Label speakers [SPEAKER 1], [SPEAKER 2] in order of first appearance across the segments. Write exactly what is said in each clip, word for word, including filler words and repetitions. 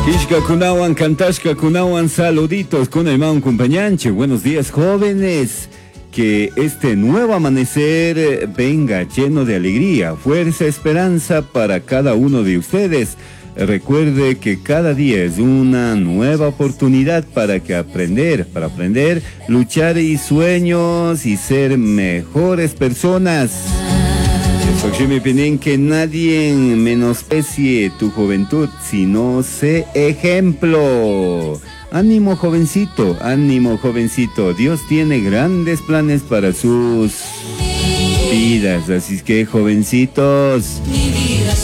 [SPEAKER 1] Kishka kunawan, kantashka kunawan, saluditos con el compañanche. Buenos días, jóvenes. Que este nuevo amanecer venga lleno de alegría, fuerza, esperanza para cada uno de ustedes. Recuerde que cada día es una nueva oportunidad para que aprender, para aprender, luchar y sueños y ser mejores personas. Pinen que nadie menosprecie tu juventud, sino sé ejemplo. Ánimo jovencito, ánimo jovencito. Dios tiene grandes planes para sus vidas. Así que jovencitos.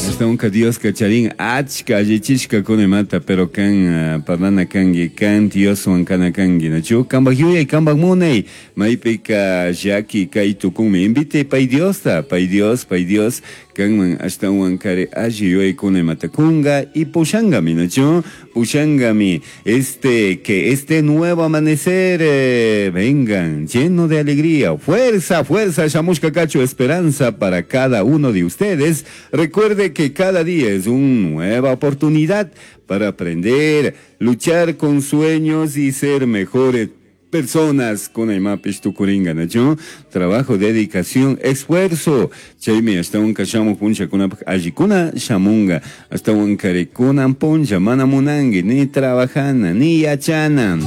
[SPEAKER 1] Hasta un Dios kacharin achka allichishka kunemata pero kan parlana kangi kan Dioswan kana kangi nachu kambaj yuyay kambaj munay maypika llaki kay tukunmi invite pay Diosta pay Dios pay Dios kanman ashtawan kari alli yuyaykuna matakunga y pushangami nachu pushangami este que este nuevo amanecer eh, vengan lleno de alegría fuerza fuerza shamushka cacho esperanza para cada uno de ustedes. Recuerde que cada día es una nueva oportunidad para aprender, luchar con sueños y ser mejores personas con el mapish tukuringa nacho trabajo dedicación esfuerzo. Chaymi hasta un kashamu puncha kuna allikuna shamunga. Hasta un karikuna puncha mana munangi ni trabajana ni yachana.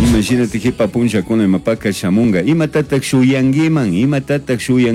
[SPEAKER 1] Imagínate hipa puncha kuna mapaka shamunga. Imatataq shuyangiman imatataq shuyan